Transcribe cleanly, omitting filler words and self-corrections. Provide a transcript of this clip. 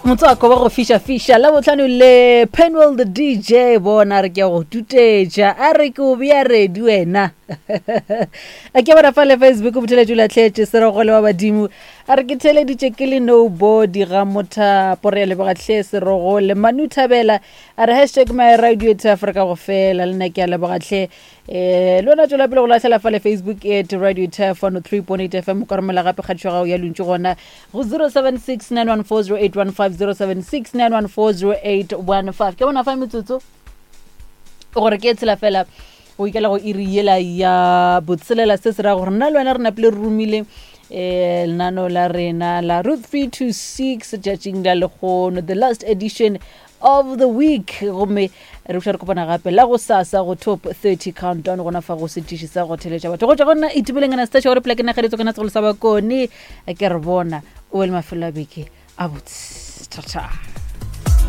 Motswako wa go fiša-fiša Labohlano le Penwell the DJ bona re ke a go tutetša a re ke o bea ready wena. A ke bona fa le Facebook botheletši o lahletše serogole wa badimo a re ke theleditše ke le nobody ga mothapo re a leboga hle serogole. Manu Thabela a re hashtag my radio to Africa go fela le nna ke a leboga hle. Eh, le wena tswela pele go lahlela fa le Facebook at Radio Turf 103.8 FM o ka romela gape kgatišo ya gago ya lontši gona go 076 914 0815 076 914 0815 ke bona fa metsotso gore ke e tshela fela go ikela go iri yela ya botshelela se se ra gore nna le wena re napile re romile eh lenano la rena la root 3 to 6 tšatšing la lekgono the last edition of the week gomme re buša re kopana gape la go sasa go top 30 countdown gona fa go setiši sa go theletša batho go tšwa go nna itumeleng anastasia gore pela ke nageletso kana segolo sa bakone ke re bona o be le mafelo a beke a botse thata.